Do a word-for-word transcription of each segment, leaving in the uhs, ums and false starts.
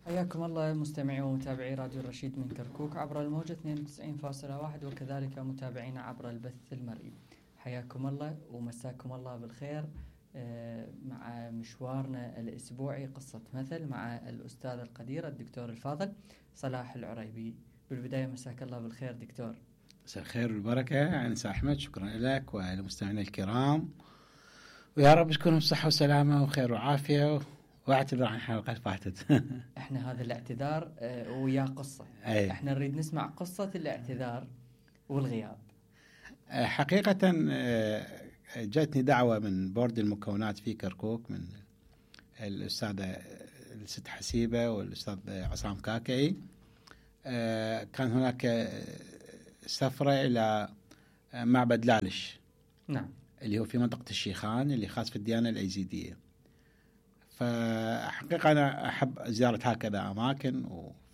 حياكم الله مستمعي ومتابعي راديو الرشيد من كركوك عبر الموجة اثنين وتسعين فاصلة واحد، وكذلك متابعينا عبر البث المرئي. حياكم الله ومساكم الله بالخير مع مشوارنا الأسبوعي قصة مثل مع الأستاذ القدير الدكتور الفاضل صلاح العريبي. بالبداية مساك الله بالخير دكتور. مساء الخير والبركة أنس أحمد، شكرا لك ولمستمعينا الكرام، ويا رب تكونوا بصحة وسلامة وخير وعافية، واعتذر عن حلقة فاتت. احنا هذا الاعتذار ويا قصة أي. احنا نريد نسمع قصة الاعتذار والغياب. حقيقة جاتني دعوة من بورد المكونات في كركوك من الأستاذة الست حسيبة والأستاذ عصام كاكي. كان هناك سفرة إلى معبد لالش، نعم، اللي هو في منطقة الشيخان اللي خاص في الديانة الأيزيدية. فحقيقة أنا أحب زيارة هكذا أماكن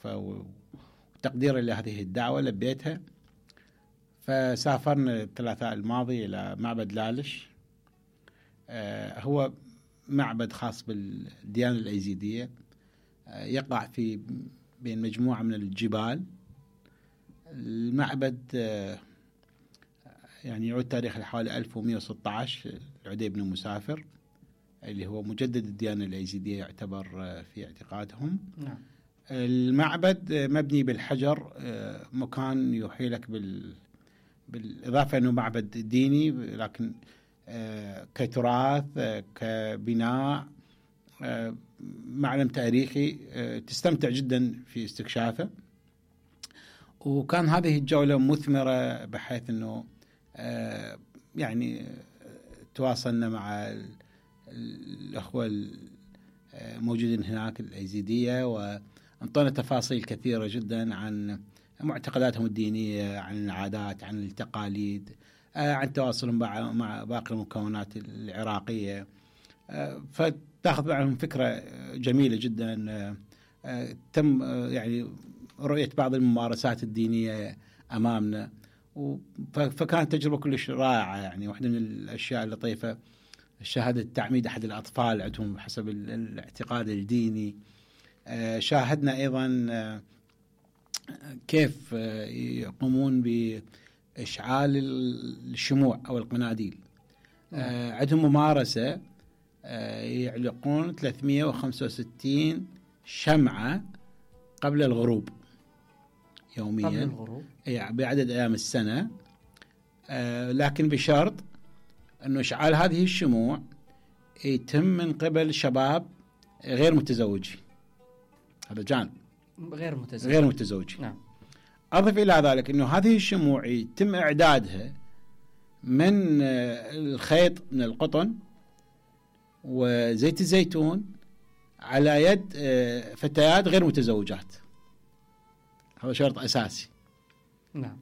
وتقديرا لهذه الدعوة لبيتها. فسافرنا الثلاثاء الماضي إلى معبد لالش. آه هو معبد خاص بالديانة الأيزيدية، آه يقع في بين مجموعة من الجبال. المعبد آه يعني يعود تاريخه حوالي ألف ومئة وستة عشر. العدي بن مسافر اللي هو مجدد الديانة الأيزيدية يعتبر في اعتقادهم. نعم. المعبد مبني بالحجر، مكان يوحي لك بال بالإضافة أنه معبد ديني، لكن كتراث كبناء معلم تاريخي تستمتع جدا في استكشافه. وكان هذه الجولة مثمرة بحيث أنه يعني تواصلنا مع الأخوة الموجودين هناك الأيزيدية، وانطونا تفاصيل كثيرة جدا عن معتقداتهم الدينية، عن العادات، عن التقاليد، عن تواصلهم مع باقي المكونات العراقية. فتأخذ عنهم فكرة جميلة جدا. تم يعني رؤية بعض الممارسات الدينية أمامنا، فكانت تجربة كلش رائعة. يعني واحدة من الأشياء اللطيفة شاهدت تعميد أحد الأطفال عندهم حسب الاعتقاد الديني. شاهدنا أيضا كيف يقومون بإشعال الشموع أو القناديل. عندهم ممارسة يعلقون ثلاثمئة وخمسة وستين شمعة قبل الغروب يوميا، قبل الغروب يعني بعدد أيام السنة، لكن بشرط أنه إشعال هذه الشموع يتم من قبل شباب غير متزوجين. هذا جانب غير متزوج غير متزوجين. نعم. أضف إلى ذلك أنه هذه الشموع يتم إعدادها من الخيط من القطن وزيت الزيتون على يد فتيات غير متزوجات. هذا شرط أساسي. نعم.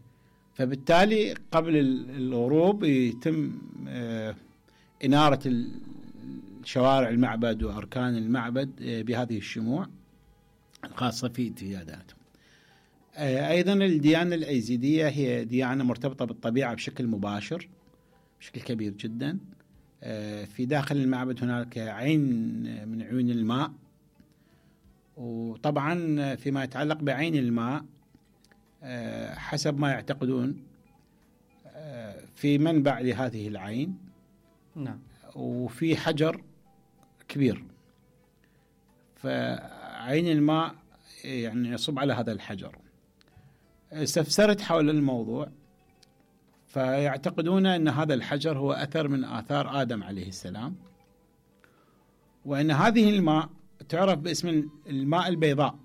فبالتالي قبل الغروب يتم إنارة الشوارع المعبد وأركان المعبد بهذه الشموع الخاصة في اعتقاداتهم. أيضا الديانة الأيزيدية هي ديانة مرتبطة بالطبيعة بشكل مباشر بشكل كبير جدا. في داخل المعبد هناك عين من عيون الماء، وطبعا فيما يتعلق بعين الماء حسب ما يعتقدون في منبع لهذه العين. نعم. وفي حجر كبير، فعين الماء يعني يصب على هذا الحجر. استفسرت حول الموضوع، فيعتقدون أن هذا الحجر هو أثر من آثار آدم عليه السلام، وأن هذه الماء تعرف باسم الماء البيضاء.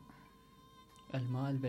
الماء البيضاء